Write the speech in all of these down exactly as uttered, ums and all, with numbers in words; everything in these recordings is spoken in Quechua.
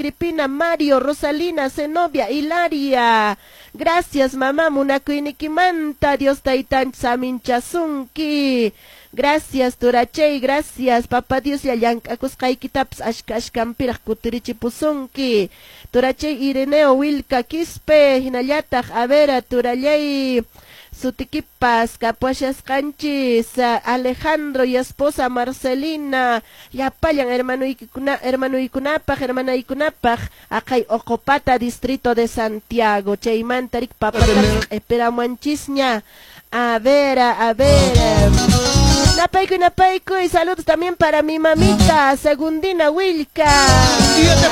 Agripina, Mario, Rosalina, Zenobia, Hilaria. Gracias, mamá, munakuynikimanta, Dios taytanchis saminchasunki. Gracias, turachay, gracias, papá Dios ya llank'akusqaykitapas ashka ashkanpiraq kutirichipusunki. Turachay Ireneo Wilka Quispe, hinallataq, a ver, turallay, sutikipas kapuashasqanchis Alejandro y esposa Marcelina, llapallan hermanuykuna hermanuykunapaq, hermanaykunapaq, aqay Oqopata, distrito de Santiago. Chaymanta rik papatapas q'ipiramuanchisña. A ver, a ver. Napaykuy, napaykuy, saludos también para mi mamita, Segundina Wilka.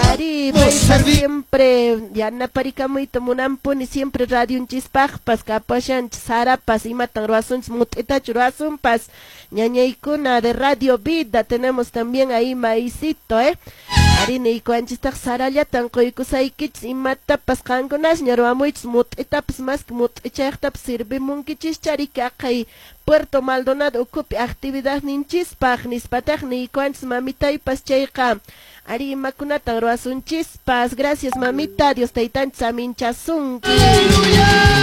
Ari, paypa siempre, yanaparikamuyta munanpuni, siempre radionchispaqpas, kapashanchis, sarapas, imatan ruwasunchis, mut'itachu ruwasunpas. Ñañaykuna de Radio Vida, tenemos también ahí maicito, eh. Ari niykuwanchistaq sarallatan quykusaykichis, imatapas qankunasña ruwamuychis, mut'itapas más que mut'ichayqtapas sirvimunkichischari aqhay Puerto Maldonado ukhupi actividad ninchispaq nispataq niykuwanchis mamitaypas chayqa. Ari imakunatan ruwasunchispas. Gracias, mamita, Dios taytanchis saminchasunki.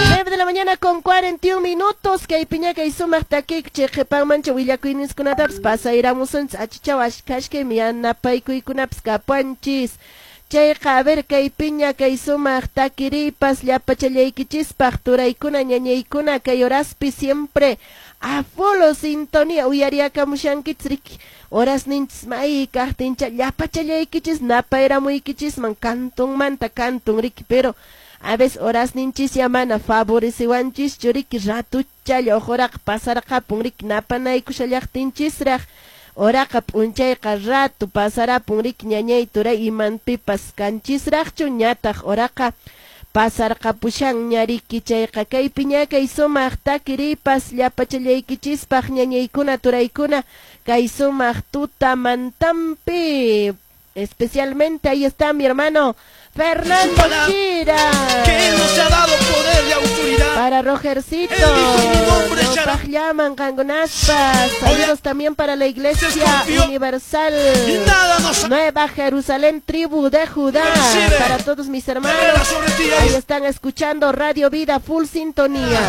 nueve de la mañana con cuarenta y un minutos. Kaypiña kay sumaq takik chay qhipanmancha willakuyninkunatapas pasayramusunchis achichaw ashkashkaymi yanapaykuykunapas kapuanchis. Chayqa, a ver, kaypiña kay sumaq takiripas llapachallaykichispaq, turaykuna, ñañaykuna, kay horaspi siempre a full sintonía uyariakamushankichis riki. Horas ninchis may kaqtincha llapachallaykichis napayramuykichisman kantunmanta kantun riki, pero a veces horas ninchis ya mana favorecewanchischu riki, ratuchalla uquraqa pasarqapun riki napanaykushallaqtinchisraq. Horaqa p'unchayqa ratu pasarapun riki, ñañay, turay, imanpipas kanchisraqchu ñataq horaqa pasarqapushanña riki. Chayqa kaypiña kay sumaq takiripas llapachallaykichispaq, ñañaykuna, turaykuna, kay sumaq tutamantampi. Especialmente ahí está mi hermano Fernando Chira. Que nos ha dado poder y autoridad. Para Rogercito. Él dijo, "En mi nombre echará". Llaman qankunaspas. Saludos también para la Iglesia Desconfió. Universal. Y nada nos Nueva Jerusalén, tribu de Judá. Recibe. Para todos mis hermanos. Sobre ti. Ahí están escuchando Radio Vida Full Sintonía.